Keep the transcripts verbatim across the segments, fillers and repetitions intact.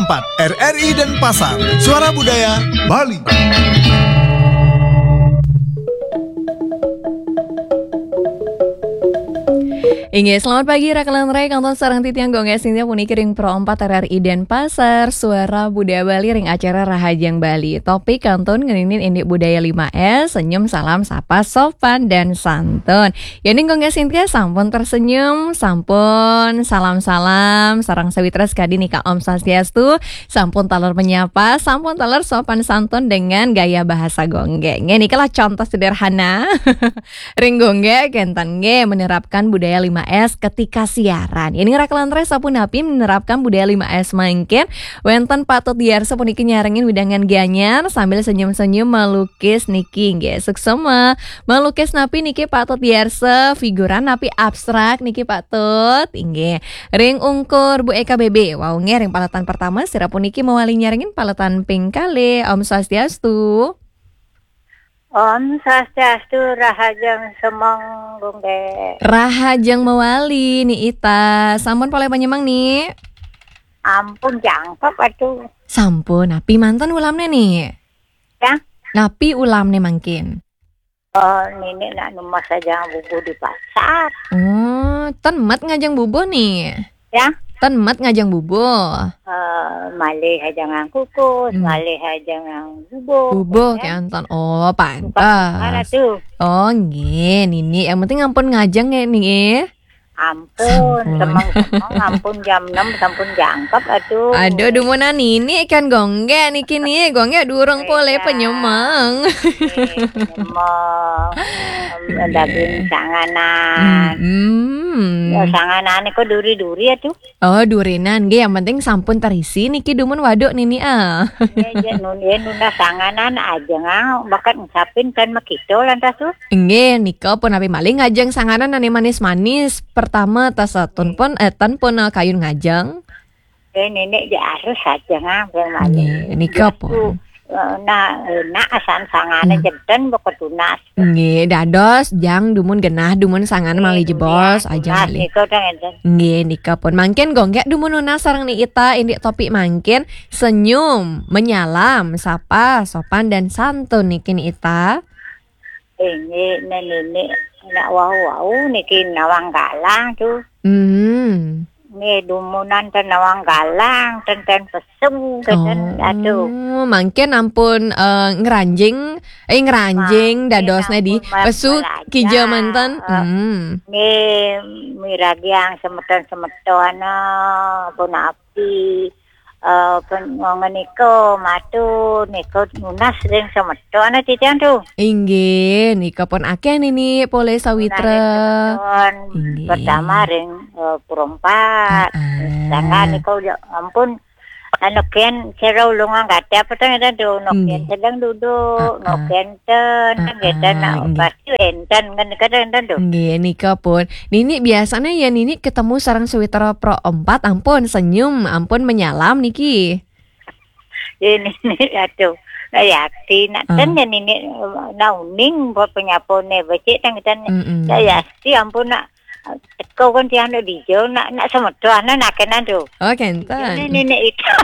empat R R I Denpasar, Suara Budaya Bali. Inggih, selamat pagi, Raka lan Rai, kantun sareng titiang Gung Gas Sintia puniki ring Pro empat R R I Denpasar, Suara Budaya Bali ring acara Rahajeng Bali. Topik kantun ngeninin indik budaya lima S, senyum, salam, sapa, sopan, dan santun. Yening Gung Gas Sintia sampun tersenyum, sampun salam-salam, sareng sawitra sakadi nika Om Swastiastu, sampun taler menyapa, sampun taler sopan santun dengan gaya bahasa Gung Gas. Nggih, niki lah contoh sederhana. Ring Gung Gas kenten nggih menerapkan budaya lima S ketika siaran. Yening Raka lan Rai sapunapi menerapkan budaya lima S mangkin, wenten patut diarsa puniki nyarengin wewidangan Gianyar sambil senyum-senyum melukis niki nggih. Suksema. Melukis napi niki patut diarsa, figuran napi abstrak niki patut. Inggih. Ring ungkur Bu Eka B B. Wau nggih ring paletan pertama sira puniki mawali nyarengin paletan ping kalih. Om Swastiastu. Om Swastiastu, Rahajeng Semeng, Gung Gas. Rahajeng mawali, Ni Ita. Sampun polih panyemeng, Ni? Ampun, jangkep atuh. Sampun, napi manten ulamne, Ni? Ya? Napi ulamne mangkin? Oh, Nini nak numbas ajeng bubuh di pasar. Oh, ten met ngajeng bubuh, Ni? Ya? Ten met ngajeng bubuh. Eh, malih ajengang kukus, Hmm. malih ajengang bubuh. Bubuh, ya. Kenten. Oh, pantes. Mana tuh? Oh, nggih, Nini. Yang penting ampun ngajeng ya, Ni. Ampun, Sampun. Semeng-semeng, ampun jam enam sampun jangkep atuh. Aduh, dumunan Nini kan Gung Gas niki, Ni. Gung Gas durung Iya. polih panyemeng. Iya, panyemeng. Em, Iya. daging sanganan. Mm-mm. Ya, sanganan kok duri-duri atuh. Oh, durinan nggih, yang penting sampun terisi niki dumun waduk Nini, ah. Iya, iya, nun-, ya, nunas sanganan ajeng, ah, bakat ngucapin kan makito lantas tuh. Nggih, nika pun napi malih ngajeng sanganan ane manis-manis. Pertama, tas satun Nggih. pun, eh, ten pun, eh, kayun ngajeng. Eh, nenek ja harus ajeng, ah, bang malih. Nggih, nika Biastu, pun. eh, nah, enak asan sanganan Hmm. jenten bakat tunas. Nggih, dados jang dumun genah, dumun sanganan Nggih, malih jebos, dumun ajeng tunas malih. Nika dah enten. Nggih, nika pun. Mangkin Gung Gas dumun nunas sareng Ni Ita indik topik mangkin, senyum, menyalam, sapa, sopan dan santun niki, Ni Ita. Inggih, nenek nak wau-wau niki nawang galang tuh. Hmm. Nggih, dumunan ten nawang galang, ten, ten pesung, ten, ten, Oh, aduh. Mangkin ampun, eh, ngranjing, eh, ngranjing Mangkin dadosne di ampun, Mas, pesu belajar. kija manten. Eh, Hmm. nggih, miragiang semeton-semeton, eh, punapi. Eh, pen-, ngenika matur, nika nunas ring semeton titiang tuh. Inggih, nika pun akeh Nini polih sawitra. Nunas ring semeton. Inggih. Pertama ring, eh, Pura Empat. Ah, ah. Sedangkan nika udah, ampun, anu ken cara ulung angkat apa tuh ngeten tuh, no ken Inggih. sedang duduk, no Ah, ah. ken ten, Ah, ngeten, ah, nah, inggih. pasti enten, kan kadang enten tuh. Nggih, nika pun. Nini biasanya ya Nini ketemu sareng sawitra Pro Empat, ampun senyum, ampun menyalam niki. Ya, Nini, aduh. Nah, yakti, nak Ah. ten ya Nini, nah, uning buat penyapone, becik tang ten. Mm-mm. Ya, yakti, ampun, nak teko kan tiang nak dijauh, nak, nak semeton, nak kenan tuh. Oh, kenten. Ini Nini itu.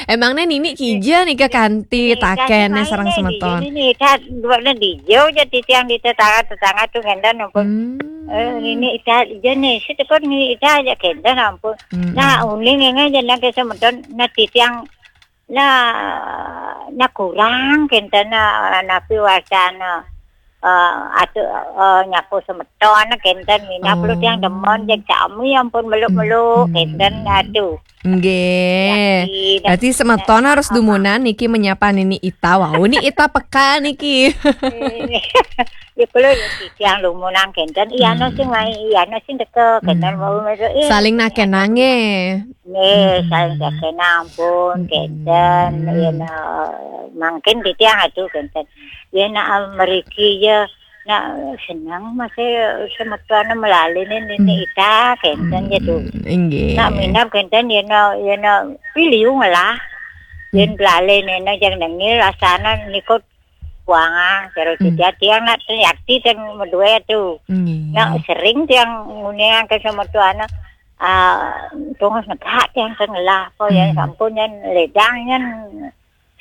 Emangnya Nini kija nika kanti Nini taken nih sareng semeton? Nini ita dua dijauh jadi tiang di tetangga-tetangga tuh ngenten ampun. Hmm. Eh, Nini ita aja nih, si tekor Nini ita aja kenten ampun. Hmm. Nah, uning ini aja nak semeton, nah titiang, nah, nah kurang kenten, nah, napi wacana, eh, atu, eh, nyapu semeton kenten, minap lu tiang demen, Oh. jeg sami ampun meluk-meluk, Hmm. kenten, aduh. Nggih. Yakin. Berarti semeton harus Apa? dumunan niki menyapa Nini Ita. Wau, Ni Ita peka niki. Ya, kalau ya, tiang lumunang kenten, iya, no, Hmm. sing mai, iya, no, sing teka, kenten, Hmm. mau, mau, eh. Saling nakenang, nggih. Nggih, Hmm. saling nakenang pun, Hmm. kenten, ya, no, mangkin titiang atuh, kenten. Ya, no, mriki, ya, no, seneng masih semeton melalene Nini Hmm. Ita, kenten, ya, tuh. Hmm, nggih. Nak minap, kenten, ya, no, ya, no, piliu ngelah. Yen Hmm. lalen ena jang nengil asana nikut buanga, jero Hmm. Tiang nak yakti teng medue tu. Nggih. Nak sering tiang nguniang ke sama tuana. ah, tunggu negak tiang tengah apa ya, hmm, sampun yan ledang yan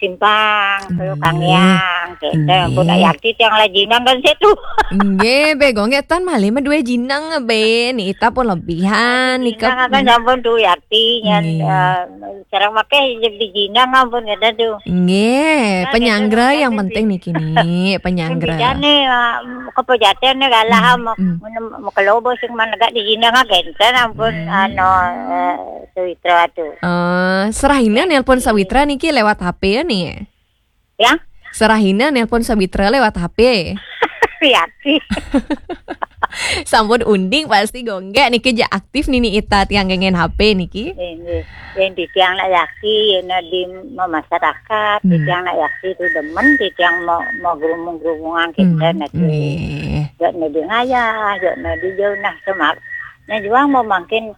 simpang, hmm, kalau kangiang, gitu. Nggih. Ampun, ayati tiang lah jinang kan situ. Nggih, be, Gung Gek tan malih madue jinang, be. Niki ita pun lebihan, nika. Jinang kan sampun tu yati, yan, nggih, eh, sareng wakeh jadi jinang ampun, kata tu. Nggih, nah, penyanggra gitu, yang penting niki, ni, penyanggra. Bidane, eh, kepejatene kalah, hmm, mau, hmm, mau, mau kelobo sing manegak di jinang, kenten ampun, hmm, anu, eh, Sawitra tu. Eh, serahina nelpon Sawitra niki lewat H P ya, ni? Ya? Serahina nelpon Sawitra lewat H P. Yati. Sampun unding pasti Gung Gek niki ja aktif nini ita tiang gengen H P niki. Nggih. Yang di tiang nak yaki, yang di masyarakat, di, hmm, tiang nak yaki tu demen, di tiang mau, mau gerumung-gerumungan kita, hmm, nanti. Nggih. Jok nadi ngayah, jok nadi jauh nah semak. Nah, juang mau makin,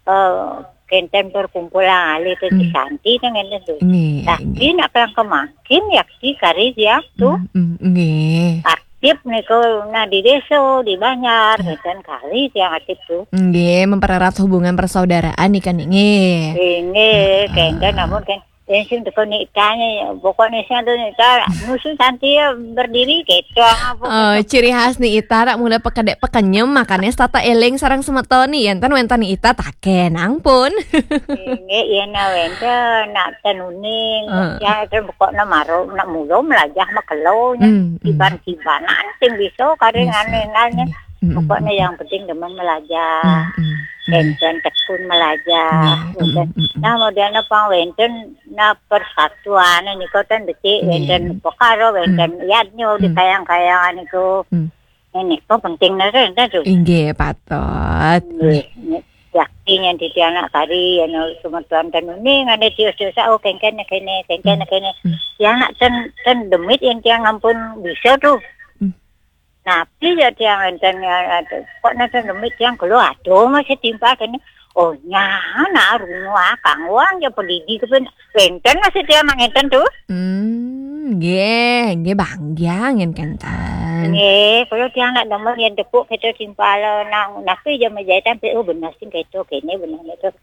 eh, kenten perkumpulan ahli tu, hmm, di Santi tu ngene tu. Nggih, tapi nggih, nak pelang kemakin ya di kari dia tu. Hmm, hmm, nggih. Aktif niko nah di desa, di Banjar, hmm, kenten kari dia aktif tu. Nggih, mempererat hubungan persaudaraan nih kan, nggih. Nggih, heeh, kenten namun kan, yang sing teko ni tanya, pokoknya sing ada ni, nusu Santi ya berdiri gitu. Oh, ciri khas ni ita rak mula pekedek pekenyem, makanya tata eling sareng semeton ni, enten wenten ni ita taken, ampun. Nggih, yen wenten nak tenuning, heeh, ya, ten pokoknya maro, nak mulo melajah makelo, nya, hmm, hmm, kiban-kibanan sing bisa, kadang bisa, aneh-aneh. Nggih. Hmm, pokoknya hmm, yang penting demen melajah. Hmm, hmm, hmm. Enten tekun melajah, nggih, gitu. Hmm, hmm, hmm. Nah, modalnya pang wenten, nah, persatuan niku ten becik, nggih, wenten pekara, wenten, hmm, yadnya di, hmm, kayang-kayangan niku. Hmm. Ini kok penting nere enten tu. Inggih, patut. Nggih, nggih. Yakti yang di anak kari, anu, semeton ten uning, ane tios-tios, oh, kengken kene, kengken, hmm, kene. Hmm. Ya, nak ten, ten demit yang tiang ampun bisa tu. Hmm. Napi ya tiang enten ya, ada. Kok nenten demit tiang kalau ada masih timpal kene. Oh, nyana, rungu akang, wong ya pedidi kepen. Wenten masih tiang nang enten tu. Hmm, nggih, nggih, banggiang yen kenten. Nggih, kalau tiang nak demen yen tepuk kita timpal nang, napi ya menjahit sampai, oh, benar sih gitu, kene benar gitu.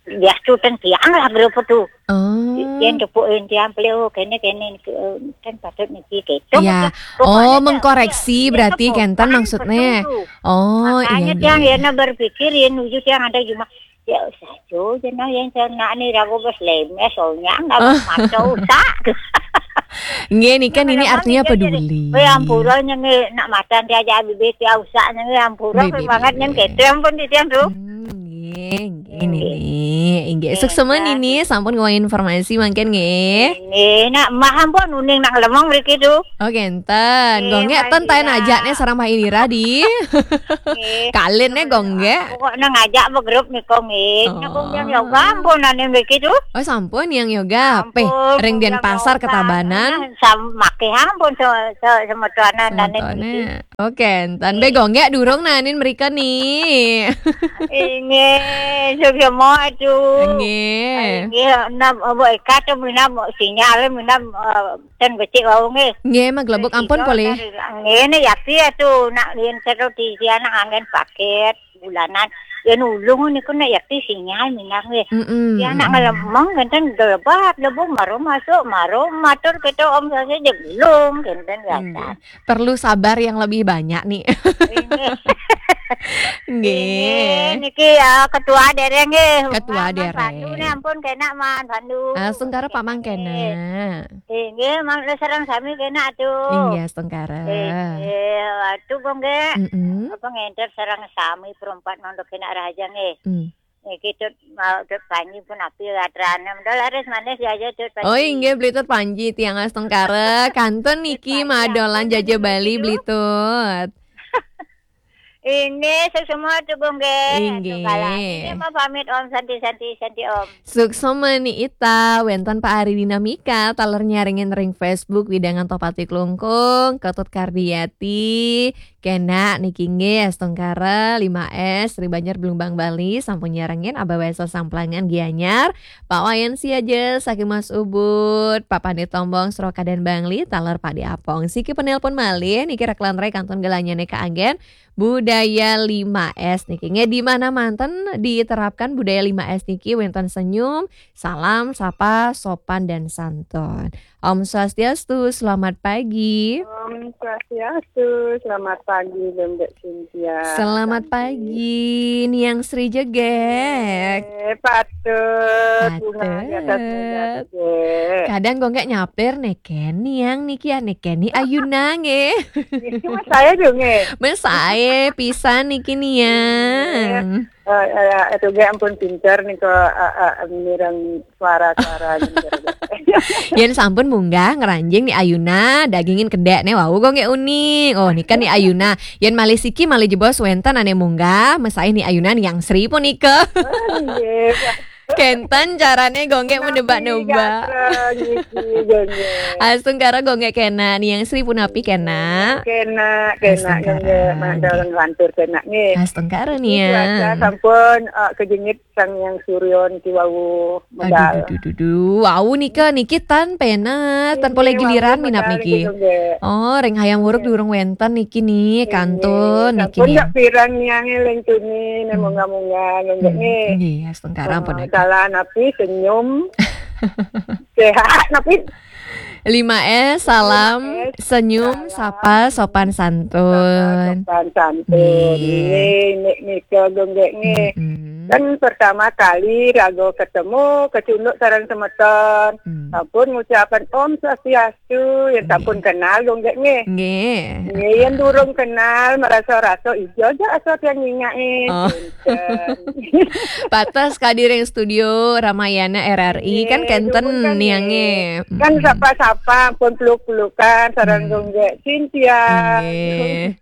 Ya, tu ten tiang lah grup tu. Oh. Yen tepuk yen tiang pelih, oh, kene, kene, ke, eh, kan patut niki gitu. Ya. Pokoknya oh, tiang mengkoreksi ya, berarti pokok kenten kan maksudnya. Betul. Oh, makanya iya, tiang iya, yen berpikir yen nuju tiang ada cuma, ya, saja jenah yang saya nak ni ragu bos lemes, soalnya nggak, oh, bos maco usak. Nggih, nika niki artinya peduli. Kowe ampura nyen nak macan diajak bibit ya usak nyen ampura. Bibit, banget nyen bibit. Gitu ampun di tiang tu. Hmm, nggih, nggih, nggih, nggih. Nggih, sukses nggih, nggih. Nini sampun nggawa informasi mangkin nggih. Nggih, nak mah ampun uning nak lemong mriki tu. Oh, kenten. Nggih, nggih, ten taen ajak nih sareng Pak Indira di. Nggih. Kalin nih, Gung Gek. Pokoknya ngajak be grup nih, Kong, nggih. Oh. Nah, Kong, yang yoga ampun ane mriki tu. Oh, sampun yang yoga. Ampun, peh, ring Denpasar, Ketabanan. Nah, sam-, makih ampun se-, se-, semetuanan ane mriki. Semetuanan. Oke, enten be Gung Gek durung nanin mrika nih. Inggih, suksma tu. Nggih. Inggih, nap, mbok ikat tu minam sinyal, minam, eh, ten becik wau nggih. Nggih, maglebuk ampun polih. Ngene ya piye tu, nak yen seru di anak anggen paket bulanan. Ya nulung niku nek yakti sinyal minang nggih. Mm-mm, ya nak mm-mm. Ngelemeng kenten gelebab lebu maro masuk, maro matur kita om saja je gulung kenten ya. Nggih. Perlu sabar yang lebih banyak nih. Nggih. Nggih. Nggih, niki ya ketua dereng nggih. Ketua dereng. Pandu nih ampun kena man Pandu. Ah, sungkara Pak Mangkena. Nggih. Inggih, mangda sareng sami kena atuh. Inggih, astungkara. Inggih, atuh, Gung, nggih. Mm-mm. Apa ngenter sareng sami perempat nondok kena raja nggih. Mm. Niki Tut, mau Tut Panji pun api atrane. Mendol laris manis ya aja Tut Panji. Oh, inggih, Beli Tut Panji, tiang astungkara. Kantun niki madolan jaja Bali, Beli Tut. Ini semua tuh, Gung, nggih. Inggih. Ini mau pamit, Om. Santi, santi, santi, Om. Suksma ni ita, wenten Pak Ari Dinamika, taler nyarengin ring Facebook, Widangan Tohpati Klungkung, Ketut Kardiati, kena niki nggih, astungkara, lima S, Sri Banjar Blumbang Bali, sampun nyarengin, Abah Wesa Samplangan Gianyar, Pak Wayan Siaja, saking Mas Ubud, Pak Pandit Tombong, Srokadan Bangli, taler Pak Di Apong. Siki penelpon malih, niki rek lantarai kantun gelanyane kaanggen, Bu Budaya lima S niki. Nggih, di mana manten diterapkan budaya lima S niki, wénten senyum, salam, sapa, sopan, dan santun. Om Swastiastu, selamat pagi. Om Swastiastu, selamat pagi, Mbak Cynthia. Selamat pagi, Niang Sri Jegek. Eh, patut. Bunga di atas meja, Jegek. Kadang gue nggak nyaper neken Niang niki ya, neken ni Ayuna nggih. Ini mas saya dong, eh. Mas saya pisan niki Niang. Eh, eh, itu gue ampun pinter nih kok, eh, eh, mireng suara-suara gitu. Yen sampun munggah ngranjing ni Ayuna, dagingin kedek ne wau kok nggih unik. Oh, nika ni Ayuna. Yen malih siki malih jebos wénten ane munggah, mesaih ni Ayuna Niang Sri punika. Oh, nggih, Pak. Kenten carane gue nggak menebak-nebak. Niki, gue nggih. Astungkara gue nggak kena, Niang Sri punapi kena. Kena, kena, Astungkara, nggih, nggih. Mandang lantur kena, nggih. Astungkara, Niang. Cuaca sampun, eh, kejengit Sang Hyang Surya niki wau medal. Aduh, duh, duh, duh, duh. Wau nika niki tan pena, tan poleh giliran minap niki. Oh, ring Hayam Wuruk durung wénten niki ni, kantun niki ni. Sampun nggak pirang Niang eling tuni, ne munggah-munggah, nggih, nggih. Nggih, astungkara ampun. Salah napi senyum. Sehat napi? Lima S, salam, senyum, sapa, sopan, santun. Sopan, santun. Nggih. Nggih, nika gue nggih. Mm-mm. Kan pertama kali raga ketemu, kecunduk sareng semeton. Hmm. Sampun ngucapan Om Swastiastu, ya sampun kenal gue nggih. Nggih. Nggih, yen durung kenal, merasa-rasa ijo aja asal yang nyingake. Oh. Patas kadi ring studio Ramayana R R I kan kenten niange. Kan sapa-sapa pun peluk-pelukan sareng gue nggih Cynthia. Nggih.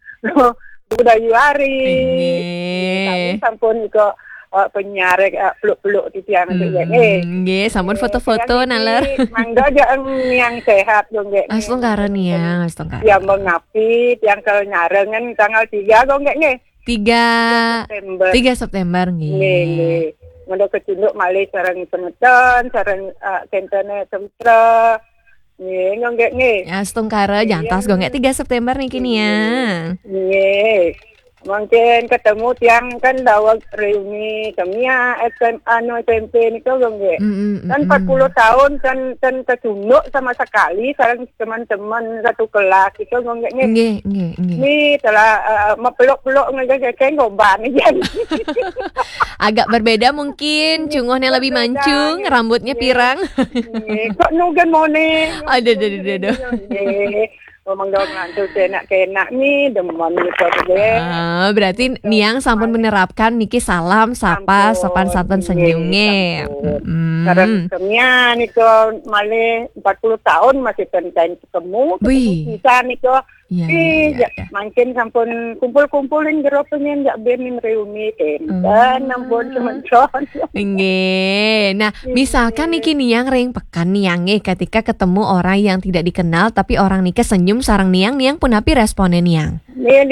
Budayu Ari. Nggih. Tapi sampun kok, eh, penyiar, eh, peluk-peluk titiang nggih. Nggih, sampun foto-foto naler. Mangga aja yang sehat gue nggih. Astungkara Niang, astungkara. Ya mengapi tiang kalau nyarengan tanggal tiga gue nggih. Tiga September. Tiga September, nggih. Nggih, nggih. Mula kecunduk malih sareng semeton, sareng, eh, kentene Semtra. Nggih, nggih, nggih. Ya, astungkara, jantos gue nggih tiga September niki, Niang. Nggih. Mungkin ketemu tiang kan daweg reuni kemia S M A, anu, S M P niku gue nggih. Mm, mm, mm, mm. Kan empat puluh tahun kan, kan kecunduk sama sekali, sareng teman-teman satu kelas itu gue nggih. Nggih, nggih, nggih. Ni telah, eh, mepeluk-peluk nggih, kayak gombal ni jan. Agak berbeda mungkin, cunguhnya lebih mancung, rambutnya pirang. Nggih, kok nugen mone. Aduh, aduh, aduh, aduh. Nggih. Memang dong ngantuk enak-enak ni, demen gitu deh. Ah, berarti Niang sampun menerapkan niki salam, sapa, sopan santun, senyum nggih. Sampun. Mm-mm. Sareng kemia niku malih empat puluh tahun masih tenten ketemu, ketemu pisan niku. Iya, iya, iya. Mangkin sampun kumpul-kumpulin jero penyen jak ben reuni kenten, ampun semeton. Nggih. Nah, misalkan niki Niang ring pekan Niang nggih, ketika ketemu orang yang tidak dikenal tapi orang niki senyum sareng Niang, Niang punapi respone Niang? Nggih,